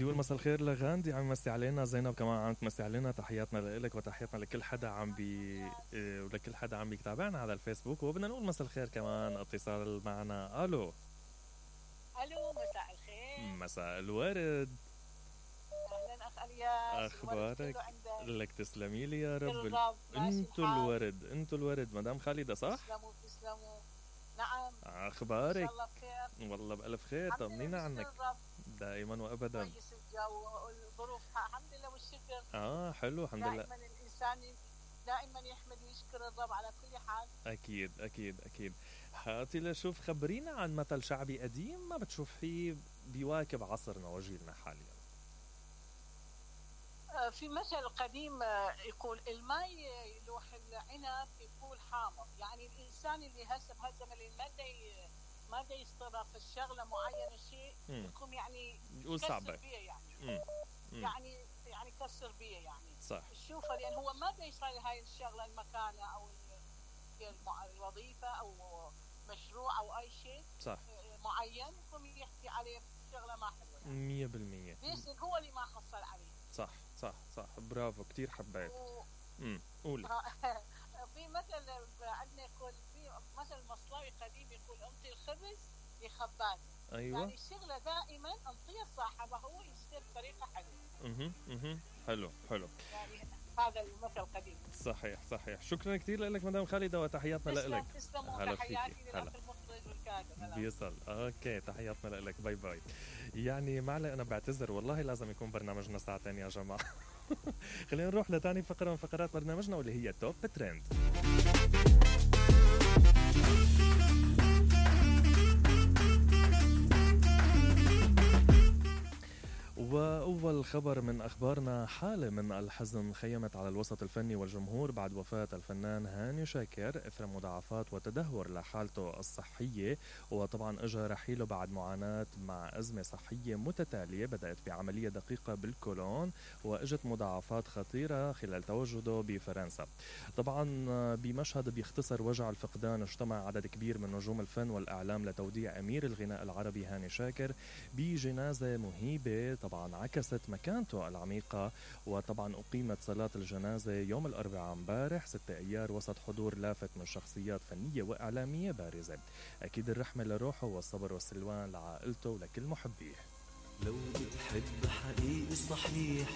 بدي اقول مساء الخير لغاندي، عم يمسي علينا. زينب كمان عم تمسي علينا. تحياتنا لك وتحياتنا لكل حدا ولكل حدا عم بيتابعنا على الفيسبوك. وبدنا نقول مساء الخير كمان اتصال معنا. الو مساء الخير. مساء الورد. اهلا اخ الياس، اخبارك؟ لك تسلمي لي يا رب. انتو الورد مدام خالدة صح؟ تسلموا. نعم. اخبارك؟ ان شاء الله بخير. والله بالف خير. طمنينا عنك. دائما وابدا. كويس الجو والظروف الحمد لله والشكر. حلو الحمد لله. دائما الانسان دائما يحمد ويشكر الرب على كل حال. اكيد. هاتي لشوف، خبرينا عن مثل شعبي قديم ما بتشوف فيه بيواكب عصرنا وجيلنا حاليا. في مثل قديم يقول الماء يلوح العنب يقول حامض. يعني الانسان اللي هسه بهالزمن اللي ما دا يستطيع في الشغله معينه شيء يكون يعني يقول صعبه يعني كسر بيه يعني صح. شوفه لان هو ما دا يصير هاي الشغله المكانه او الوظيفه او مشروع او اي شيء صح معين يقوم يحكي عليه شغله ما حلوه 100%. ليش هو اللي ما حصل عليه. صح برافو كتير حبيت. قولي. في مثل عندنا يقول، في مثل مصلاوي قديم يقول انطي الخبز لخباز. ايوه يعني الشغله دائما انطيه صاحبه هو يشتغل بطريقه حلوه. حلو يعني هذا المثل قديم. صحيح. شكرا كثير لك مدام خالدة وتحياتنا لك. هلا تحياتي للاخ المخرج والكاتب. بيصل. اوكي تحياتنا لك. باي. يعني معلي انا بعتذر والله لازم يكون برنامجنا ساعتين يا جماعه. خلينا نروح لتاني فقرة من فقرات برنامجنا واللي هي توب ترند. وأول خبر من أخبارنا، حالة من الحزن خيمت على الوسط الفني والجمهور بعد وفاة الفنان هاني شاكر إثر مضاعفات وتدهور لحالته الصحية. وطبعا اجى رحيله بعد معاناة مع أزمة صحية متتالية بدأت بعملية دقيقة بالكولون وإجت مضاعفات خطيرة خلال تواجده بفرنسا. طبعا بمشهد بيختصر وجع الفقدان اجتمع عدد كبير من نجوم الفن والإعلام لتوديع أمير الغناء العربي هاني شاكر بجنازة مهيبة طبعا عكست مكانته العميقة. وطبعا أقيمت صلاة الجنازة يوم الأربعاء امبارح 6 أيار وسط حضور لافت من شخصيات فنية وإعلامية بارزة. أكيد الرحمة لروحه والصبر والسلوان لعائلته ولكل محبيه. لو بتحب حقيقي صحيح